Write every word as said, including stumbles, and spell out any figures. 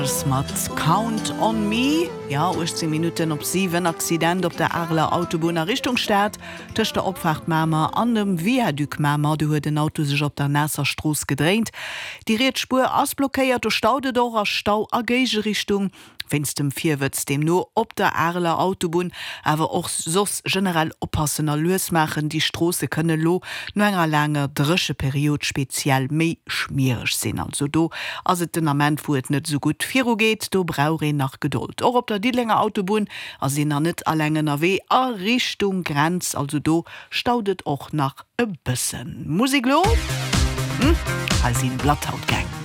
Mat Count on Me. Jo, uechtzéng Minutten op siwen, Accident op der Areler Autobunn a Richtung Stad, tëscht der Opfaart Mamer an dem Viaduc Mamer. Do huet en Auto sech op der naasser Strooss gedréint. Déi riets Spuer ass blockéiert, do staut et och a Stau a Géigerichtung. Wéinst dem Virwëtz deemno op der Areler Autobunn, awer och soss generell oppassen a lues maachen, déi Stroosse kënne lo no enger laanger Drécheperiod speziell méi schmiereg sinn. Also do ass et den Ament wou et net esou gutt viru geet, do brauch een nach Gedold. Och op der Diddelenger Autobunn ass een nach net alleng ënnerwee a Richtung Grenz, also do staut et och nach e bëssen. Musek lo? Hm, hei sinn Bloodhound Gang.